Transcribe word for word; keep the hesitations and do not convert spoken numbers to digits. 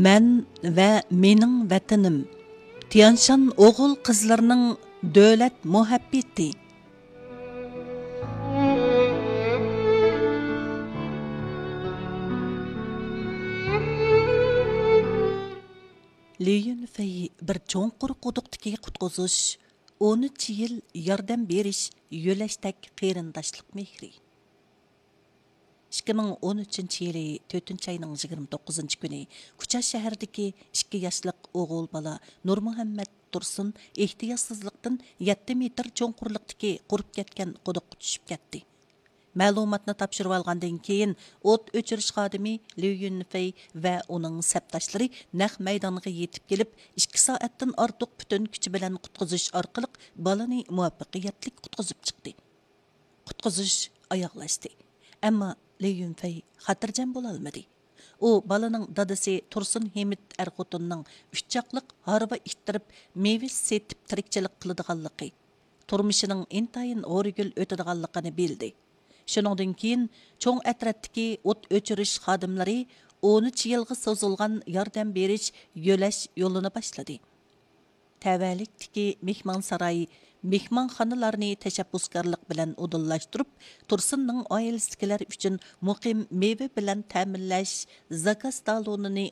مەن ۋە مېنىڭ ۋەتىنىم. تيەنشان ئوغۇل قىزلىرىنىڭ دۆلەت مۇھەببىتى. لى يۈنفېي بىر چوڭقۇر قۇدۇقتىكى قۇتقۇزۇش، ئون ئۈچ يىل ياردەم بېرىش، يۆلەشتەك قېرىنداشلىق مېھرى. ئىككى مىڭ ئون ئۈچىنچى يىلى تۆتىنچى ئاينىڭ يىگىرمە توققۇزىنچى كۈنى كۇچا شەھىرىدىكى ئىككى ياشلىق ئوغۇل بالا نۇرمۇھەممەت تۇرسۇن ئېھتىياتسىزلىقتىن يەتتە مېتىر چوڭقۇرلۇقتىكى قۇرۇپ كەتكەن قۇدۇققا چۈشۈپ كەتتى. مەلۇماتنى تاپشۇرۇۋالغاندىن كېيىن، ئوت ئۆچۈرۈش خادىمى ليۇ يۈنفېي ۋە ئۇنىڭ سەپداشلىرى نەق مەيدانغا يېتىپ كېلىپ، ئىككى سائەتتىن ئارتۇق پۈتۈن كۈچى بىلەن قۇتقۇزۇش ئارقىلىق بالىنى مۇۋەپپەقىيەتلىك قۇتقۇزۇپ چىقتى. قۇتقۇزۇش ئاياغلاشتى. ئەمما لى يۈنفېي خاتىرجەم بولالمىدى. ئۇ بالىنىڭ دادىسى تۇرسۇن ھېمىت ئەر خوتۇننىڭ ئۈچ چاقلىق ھارۋا ئىتتىرىپ، مېۋە سېتىپ تىرىكچىلىك قىلىدىغانلىقى، تۇرمۇشىنىڭ ئىنتايىن ھورىگۈل ئۆتىدىغانلىقىنى بىلدى. شۇنىڭدىن كېيىن چوڭ ئەترەتتىكى ئوت ئۆچۈرۈش خادىملىرى ئون ئۈچ يىلغا سوزۇلغان ياردەم بېرىش، يۆلەش يولىنى باشلىدى. تەۋەلىكتىكى مېھمانساراي، مېھمانخانىلارنى تەشەببۇسكارلىق بىلەن ئۇدۇللاشتۇرۇپ، تۇرسۇننىڭ ئائىلىسىدىكىلەر ئۈچۈن مۇقىم مېۋە بىلەن تەمىنلەش زاكاز تالونىنى